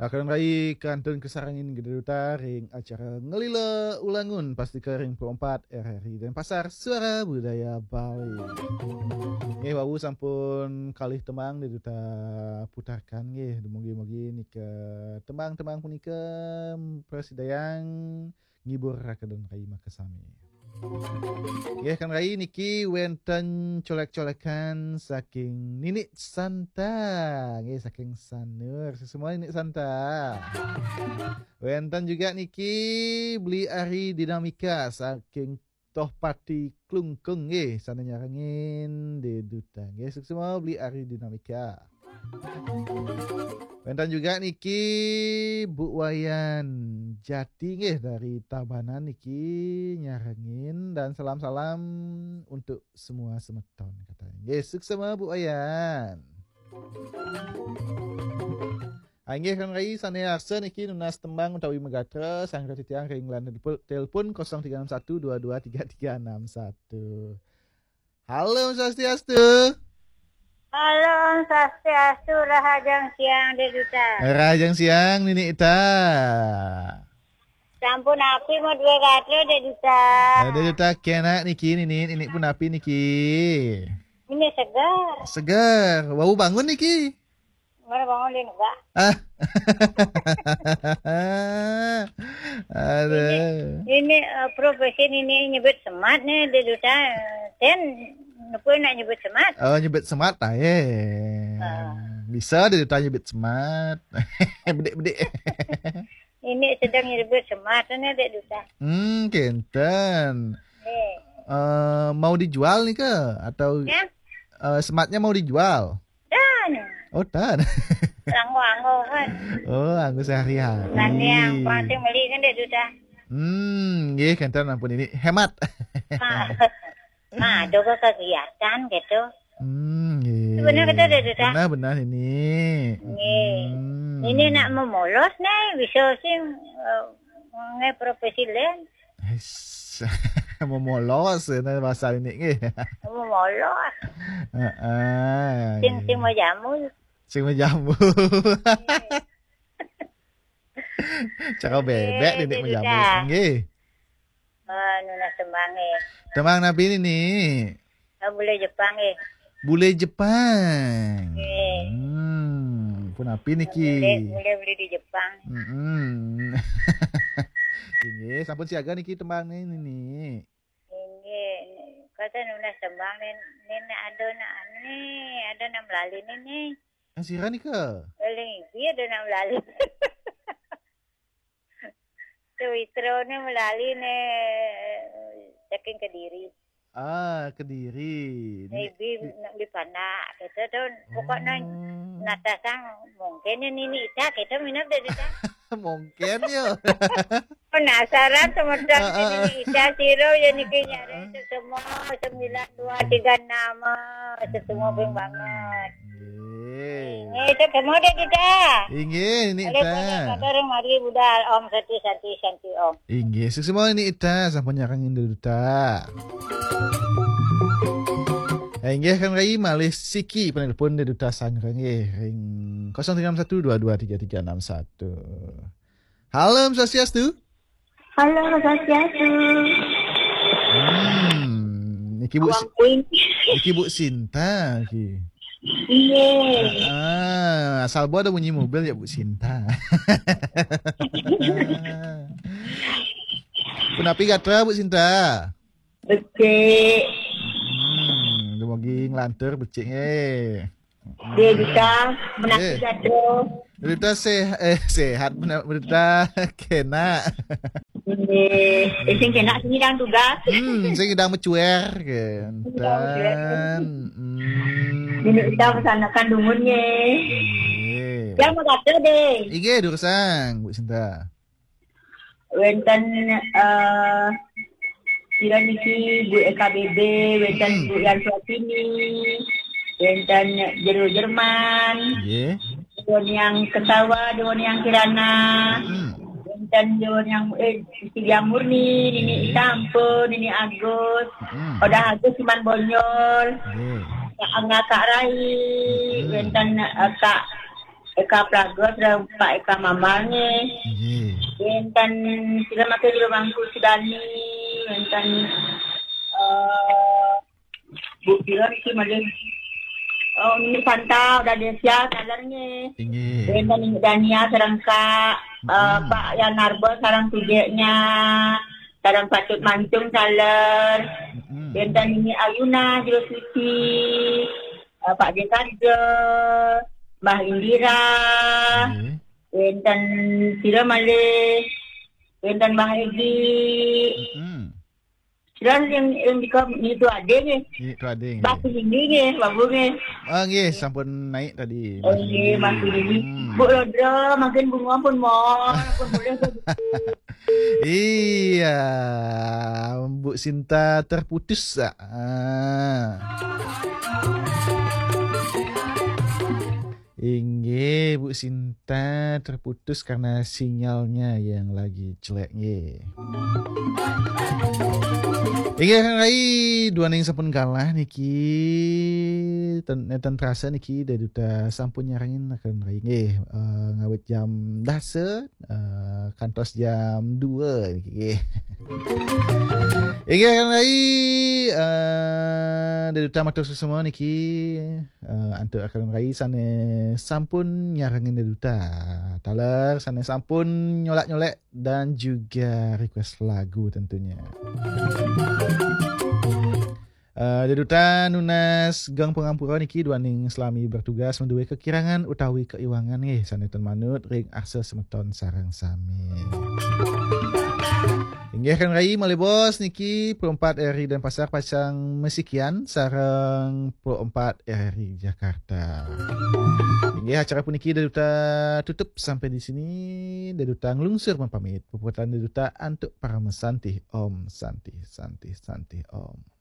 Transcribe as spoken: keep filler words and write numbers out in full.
Akan rai kantun kasarengin gede duta ring acara Ngelila Ulangun, pasti ke ring Pro empat R R I Denpasar, Suara Budaya Bali. Nggih, wau sampun kalih tembang deh duta putarkan nggih. Dumugi-mugi nika tembang-tembang punika prasidayang ngibur raka dan rai makasami. Nggih, kan rai niki wenten colek-colekan saking Nini Santa. Nggih, saking Sanur. Semua Nini Santa. Wenten juga niki Beli Ari Dinamika saking Tohpati Klungkung nggih, sana nyarengin di duta. Nggih, sukses semua Beli Ari Dinamika. Wenten juga niki Bu Wayan Jati nggih dari Tabanan niki nyarengin dan salam-salam untuk semua semeton katanya. Nggih, sukses semua Bu Wayan. Ah, inggih kan rai sane arsa niki nunas tembang utawi megatra sanggra titiang ring line telepon, telepon kosong tiga enam satu dua dua tiga tiga enam satu. Halo, Om Swastiastu. Halo, Om Swastiastu, rahajeng siang, Dek Duta. Rahajeng siang, Nini Ita. Sampun api mau dua gatra, Dek Duta. Ada Duta kena niki, Nini, Nini pun api niki. Ini segar. Segar. Wau bangun niki. Mana bangun di negak? Ah. Ada. Ini, ini, eh, profesi ini nyebut semat nih, Dek Duta. Ten, napa nak nyebut semat? Oh, nyebut semat lah, eh. Ah. Bisa Dek Duta nyebut semat. Bedik-bedik. Ini sedang nyebut semat nih, Dek Duta. Hmm, kenten. Eh. Eh, mau dijual nih ke? Atau, ya? Eh, sematnya mau dijual? Dan. Oh, tan. Anggo-anggo kan. Oh, anggo sehari-hari. Nanti yang pasti beli kan, Dek Duta. Hmm, nggih, kenten ampun ini hemat. Nah, nah, ada kegiatan gitu. Hmm, nggih. Benar kata, Dek Duta? Benar, benar ini. Nggih. Hmm. Ini nak memolos nih, bisa sih, eh, nge profesi lain. Eish, memolos, ya, bahasa ini nggih. Memolos. Heeh. Sing, sing mau jamu. Sing mau jamu. Cara bebek, Dek Duta. Nggih, mau jamu. Nggih. Eh, nunas tembang, eh. Tembang napi ini, Ni? Ah, bule Jepang, eh. Bule Jepang. Eh. Hmm, pun api niki? Bule, bule, bule di Jepang. Mm-mm. Ini sampun siaga niki tembang nih, Nini. Ini, kata nunas tembang nih, nih, nih, ada nak, nih, ada nak melalui nih, nih. Yang sira nika? Paling iya ada nak melalui. Sewitro nih melalui nih, saking Kediri. Ah, Kediri. Di, maybe di nak di Panak, gitu tuh. Pokoknya, oh, natasang mungkin ya Nini Ita, gitu, minap deh, Ita. Mungkin ya. Penasaran, teman-teman, ah, ah, ah. Nini Ita, siro ya niki nyari, ah, semua sembilan dua tiga enam, semua banget. Nggih. Nggih, ketemu deh kita. Inggih, Nini Ita. Kabar mari budal, Om Santi, Santi, Santi, Om. Inggih, suksma Nini Ita, sampun nyarengin duta. Eh, inggih kan rai malih siki penelpon di duta sanggra nggih ring kosong tiga enam satu dua dua tiga tiga enam satu. Halo, Om Swastiastu. Halo, Om Swastiastu. Hmm, niki Bu Awang Si-, Queen. Niki Bu Sinta, niki. Iya. Ah, asal Bu ada bunyi mobil ya, Bu Sinta. Punapi gatra, Bu Sinta? Becik. Hmm, dumugi nglantur becik nggih. Dia bisa menanti, eh, jatuh. Berita seh-, eh, sehat, benar, berita kena. Nggih. Eh, sing kena sing idang tugas. Hmm, sing idang mecuer, kenten. Idang mecuer. Hmm. Ini kita pesanakan dungun, nggih. Nggih. Yang mau kata deh. Inggih, durusang, Bu Sinta. Wenten, eh, sira niki Bu E K B B, wenten, hmm, Bu Yan Suatini, wenten Jero Jerman, nggih. Dewan Yang Kesawa, Dewan Yang Kirana, hmm, wenten Dewan Yang, eh, Siti Diah Murni, Nini, nggih, Ita Ampun, Nini Agus, hmm, Odah Agus Siman Bonjol, nggih, Kak Angga Kak Rai, hmm, wenten, eh, Kak Eka Praga, sareng Pak Eka Mamal nggih. Nggih. Wénten sira maké jero Mangku Sudani, wénten, eh, Bu pira niki malih? Oh, Nini Santa, Uda Desia, taler nggih. Inggih. Wénten Nini Dania sareng Kak, eh, Mm-mm. Pak Yan Narba sareng tujeknya, sareng Patut Mancung taler. Mm-mm. Wénten Nini Ayuna, Jero Suci, eh, Pak Dekarja, Mbah Indira. Nggih. Wénten sira malih, wénten Mbah Egi. Mm-mm. Sira yang, yang di kom-, itu ade nggih. Itu ade nggih. Mbah Sudini nggih, Babu nggih. Ah, nggih, sampun naik tadi, Mbah Sudini. Oh, nggih, Mbah Sudini. Hmm. Bu Lodra, makin bunga pun mohon, pun boleh. Iya, Bu Sinta terputus, ah. Inggih, Bu Sinta terputus karena sinyalnya yang lagi jelek, nggih. Inggih, Kang Rai, duaning sampun kalah niki, ten-, nenten terasa niki, Dé Duta sampun nyarengin Kang Rai, nggih, eh, ngawit jam dasa, eh, kantos jam dua niki, nggih. Inggih, Kang Rai, eh, Dé Duta matur suksma niki, eh, antuk Kang Rai sané sampun nyarengin Dé Duta. Taler sané sampun nyolek-nyolek dan juga request lagu tentunya. Eh, Dé Duta nunas geng pangampura niki duaning selami bertugas madué kekirangan utawi keiwangan nggih sané ten manut ring arsa semeton sareng sami. Inggih Kang Rai malih bos niki Pro empat R R I Denpasar pacang masikian sareng Pro empat R R I Jakarta. Inggih acara puniki Dé Duta tutup sampai di sini. Dé Duta nglungsur mapamit. Puputang Dé Duta antuk parama santih. Om Santih, Santih, Santih Om.